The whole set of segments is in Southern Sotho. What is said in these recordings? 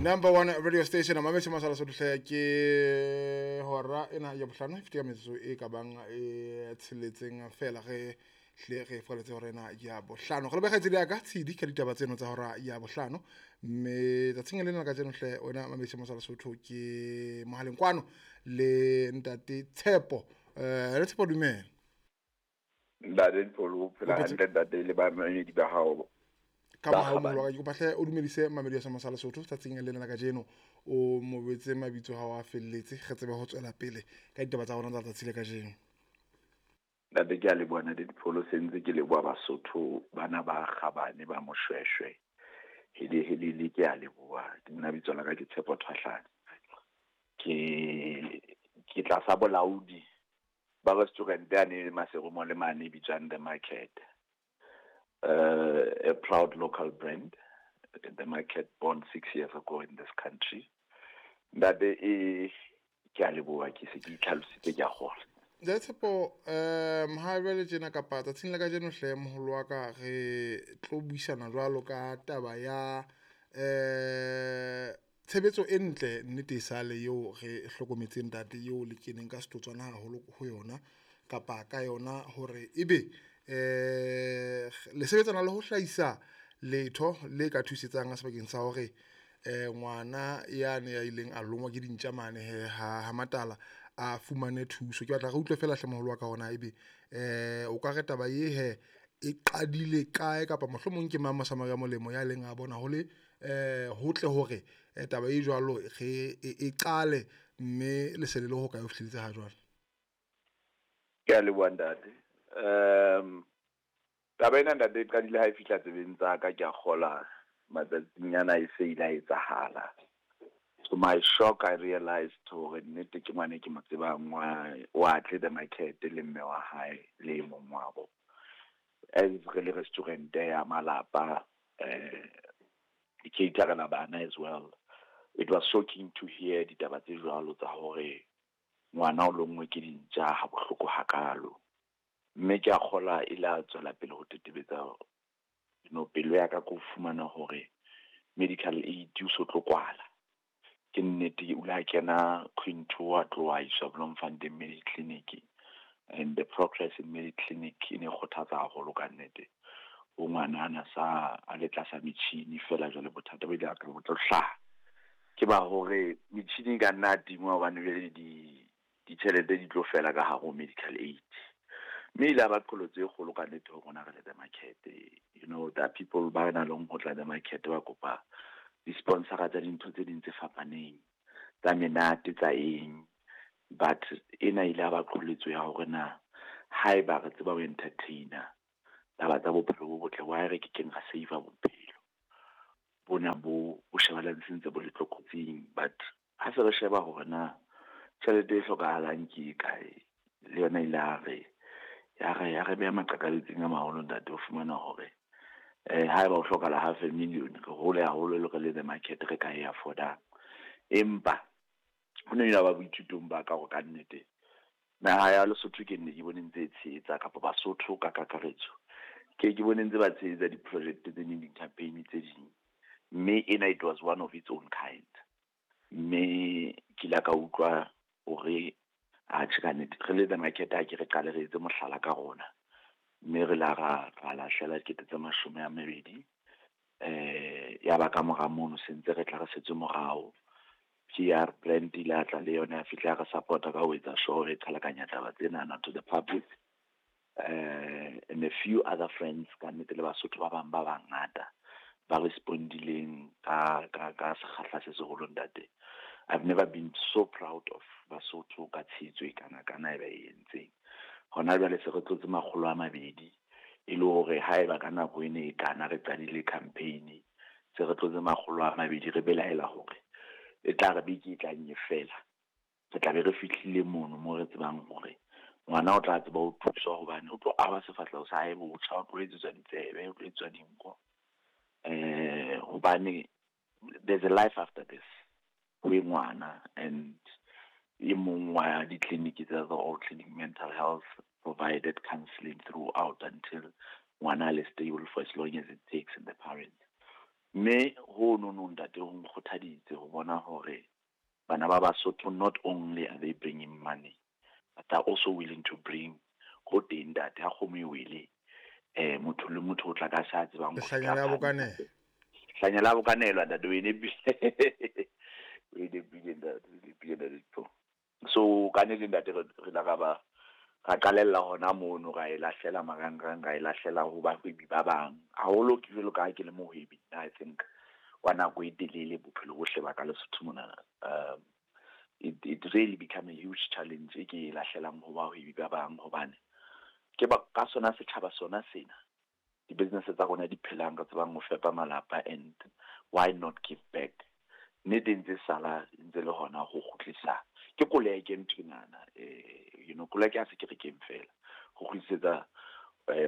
Number one radio station mametse masala sotlhe ke hora ena ya bohlano e fete ka metsotso e ka bang e tsheletseng fela ge hle re foletse hora ena ya bohlano. Re leboha kgaitsedi ya ka Tshidi ka ditaba tseno tsa hora ya bohlano, mme tsatsing lena la kajeno hle wena mametse masala Sotho ke mohaleng kwano le ntate Tshepo. Le Tshepo, dumela. Ntate Dipholo, o phela hantle ntate le bamamedi ba hao? Ka mohau moholo wa ka, ke kopa hle o dumedise mamedi ya Soma sa Lesotho tsatsing lena la kajeno, o mo betse mabitso hao a felletse, re tsebe ho tswela pele ka ditaba tsa rona tsa letsatsi le kajeno. Ntate, ke a leboha. Ntate Dipholo, sentse ke leboha Basotho bana ba kgabane ba Moshweshwe, hele helele, ke a leboha. Ke nna, bitso la ka ke Tshepo Thwahlane, ke tlasa bolaodi ba restaurant yane Maserumo le mane e bitswang The Market, a proud local brand, The Market, born 6 years ago in this country. Ntate, e ke a leboha, ke se ke itlhalositse, ke a kgola. Ntate Tshepo, ha jwale tjena kapa tsatsing la kajeno hle moholo wa ka, re tlo buisana jwalo ka taba ya tshebetso e ntle, nnete e sale eo re hlokometseng ntate eo le keneng ka setotswana haholo ho yona kapa ka yona, hore ebe le sebetsana le ho hlahisa letho le ka thusetsang sebakeng sa hore ngwana yane ya ileng a longwa ke dintja mane he ha Matala a fumane thuso. Ke batla re utlwe fela hle moholo wa ka hona ebe o ka re taba e he e qadile kae, kapa mohlomong ke mang mosamaria molemo ya leng a bona ho le hotle hore taba e jwalo re e qale, mme le se le le ho kae ho fihlelletse ha jwale? Ke a leboha ntate. Taba ena ntate e qadile ha e fihla tsebeng tsa ka, ke a kgola matsatsing ana e se ile a etsahala. To my shock, I realized hore nnete ke ngwane ke mo tsebang wa tle The Market le mme wa hae le e mong wa bo. As re le restaurant ya malapa, di-caterela bana as well. It was shocking to hear ditaba tse jwalo tsa hore ngwana o lonngwe ke dintja ha bohloko hakalo. Mme ke a kgola e la tswela pele ho tetebetsa pelo ya ka, ko fumana hore medical aid o so tlo kwala. Ke nnete, o ile a kena Quinto, a tloha a iswa Bloemfontein Mediclinic, and the progress in Mediclinic e ne kgothatsa haholo ka nnete. Ho ngwana ana sa a le tlasa metjhini fela, jwale bothata bo ile ka bo tlo hlaha ke ba hore metjhini e ka nna a tingwa hobane jwale di ditjhelete di tlo fela ka hare ho medical aid. Mme ile ba qholotso e kgolo ka nnete ho rona re le The Market. There are people ba nang le ho tla The Market ba kopa di-sponsora tsa dintho tse ding tse fapaneng, tsa menate, tsa eng, but ena ile ya ba qholotso ya hore na haeba re tseba ho entertainer taba tsa bophelo bo botle, why re ke keng ra save bophelo bona bo bo shebahalang sentse bo le tlokotsing? But ha se re sheba hore na tjhelete e hlokahalang ke e kae, le yona ile ya re ya re beha maqakabetsing a maholo ntate. O fumana hore haeba ho hlokahala half a million, re hole haholo le re le The Market re ka e affordang. Empa ho ne ile ba boithutong ba ka hore kannete naha ya Lesotho ke nne ke bone ntse e tshehetsa, kapa Basotho ka kakaretso ke bone ntse ba tshehetsa di-project tse ding, di-campaign tse ding, mme ena it was one of its own kind. Mme ke ile ka utlwa hore atjhe, ka nnete re le The Market ha ke re qale re etse mohlala ka rona, mme re la ra lahlela 20,000. Ya ba ka mora mono sentse re tla re setse morao, PR brand ile a tla le yona, ya fihla ya re support-a ka ho etsa sure re qhalakanya taba tsenana to the public, and a few other friends ka nnete le Basotho ba bang ba bangata ba respondileng ka sekgahla se seholo. Ntate, I've never been so proud of Basotho ka tshehetso e kana kana e ba e entseng. Hona jwale se re tlotse 200, e le hore haeba ka nako e ne e kana re qadile campaign, se re tlotse 200. Re belaela hore e tla re beke e tlang e fela re tla be re fihlile mono mo re tsebang hore ngwana o tla tseba ho thuswa, hobane o tlo ahwa sefahleho sa hae botjha, o tlo etsetswa ditsebe, o tlo etsetswa dinko, hobane there's a life after this ho e ngwana. And e mong wa di-clinic tsa the all clinic mental health provided counselling throughout until ngwana a le stable for as long as it takes, and the parents. Mme ho no ntate, ho nkgothaditse ho bona hore bana ba Basotho, not only are they bringing money, but they're also willing to bring ho teng, ntate. Ha kgomo e wele, motho le motho o tla ka sa tsebang. Lehlanya la bokanelo. Hlanya la bokanelwa, ntate. O e nepile, o e nepile, ntate, o e nepile, ntate. So ka nnete, ntate, re la ra ba ra qalella hona mono, ra e lahlela marangrang, ra e lahlela ho bahwebi ba bang haholo. Ke jwalo ka ha ke le mohwebi nna, I think wa nako e telele, bophelo bohle ba ka Lesotho mona, it really become a huge challenge e ke e lahlelang ho bahwebi ba bang, hobane ke ba ka sona setjhaba sona sena, di-business tsa rona di phelang, re tsebang ho fepa malapa, and why not give back? Nnete e ntse sala ntse le hona ho kgutlisa ke koleke nthwenana, koleke ha se kerekeng fela, ho kgutlisetsa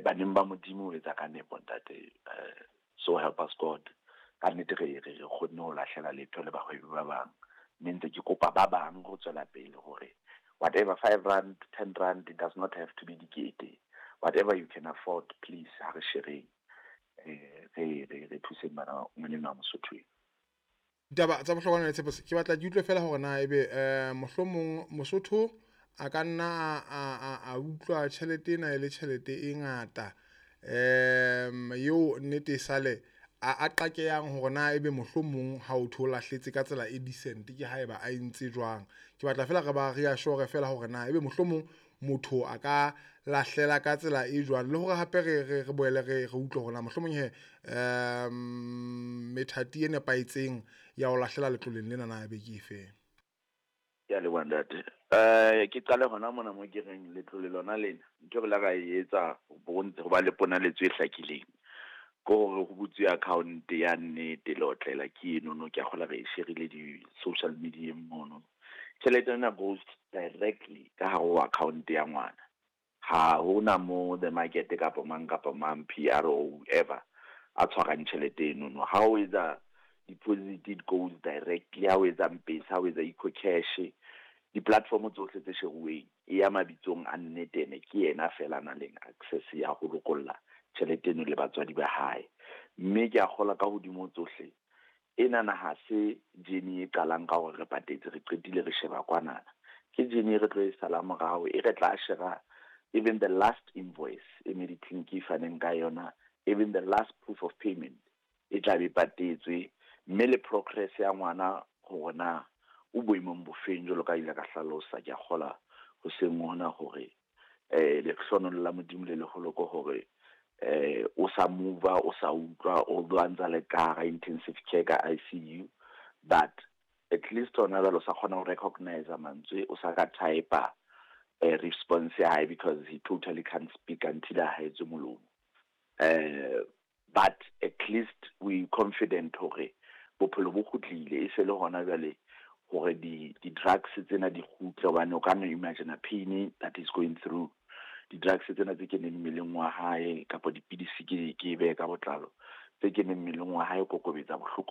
baneng ba Modimo, ho etsa ka nepo, ntate. So help us God, ka nnete re kgonne ho lahlela letho le bahwebi ba bang, mme ntse ke kopa ba bang ho tswela pele hore whatever, R5, R10, it does not have to be dikete, whatever you can afford, please, ha re shareng, re thuseng bana, ngwaneno wa Mosotho. Ditaba tsa bohlokwa le Tshepo, ke batla ke utlwe fela hore na ebe mohlomong Mosotho a ka nna a utlwa tjhelete ena e le tjhelete e ngata, eo nnete e sale a qakehang hore na ebe mohlomong ha o thwe o lahletse ka tsela e decent, ke haeba a entse jwang. Ke batla fela re ba reassure fela hore na ebe mohlomong motho a ka lahlela ka tsela e jwang, le hore hape re boele re utlwe hore na mohlomong he methati e nepahetseng ya ho lahlela letloleng lena na ebe ke efeng. Ke a leboha, ntate. Ke qale hona mona mo ke reng letlole lona lena, ntho re la ra e etsa ho ba le ponaletso e hlakileng ke hore ho butswe account ya nnete le otlela ke enono. Ke a kgola re e share-ile di-social media mono. Tjhelete ena goes directly ka hare ho account ya ngwana. Ha hona mo the market kapa mang kapa mang, PR or whoever, a tshwarang tjhelete enono. Ha o etsa deposit, it goes directly. Ha o etsa M-Pesa, ha o etsa EcoCash, di-platform tsohle tse sheruweng, e ya mabitsong a nnete. Ene ke yena fela a nang le access ya ho lokolla tjhelete eno le batswadi ba hae. Mme ke a kgolwa ka hodimo tsohle, enana ha se journey e qalang ka hore re patetse, re qetile, re sheba kwanana. Ke journey e re tlo e sala morao, e re tla shera even the last invoice e Mediclinic e faneng ka yona, even the last proof of payment e tla be patetswe, mme le progress ya ngwana hore na o boemong bofeng. Jwalo ka ile ka hlalosa, ke a kgola hoseng hona hore lehlohonolo la Modimo le leholo ke hore o sa move, o sa utlwa, although a ntsa le ka hara intensive care, ka ICU, but at least hona jwale o sa kgona ho recognize mantswe, o sa ka type response ya hae, because he totally can't speak until a haetswe molomo. But at least we confident hore bophelo bo kgutlile, e se le hona jwale hore di-drugs tsena di kgutle, hobane o ka no imagine pain that is going through. Di-drugs tsena tse keneng mmeleng wa hae, kapa dipidisi, ke behe ka botlalo, tse keneng mmeleng wa hae, kokobetsa bohloko.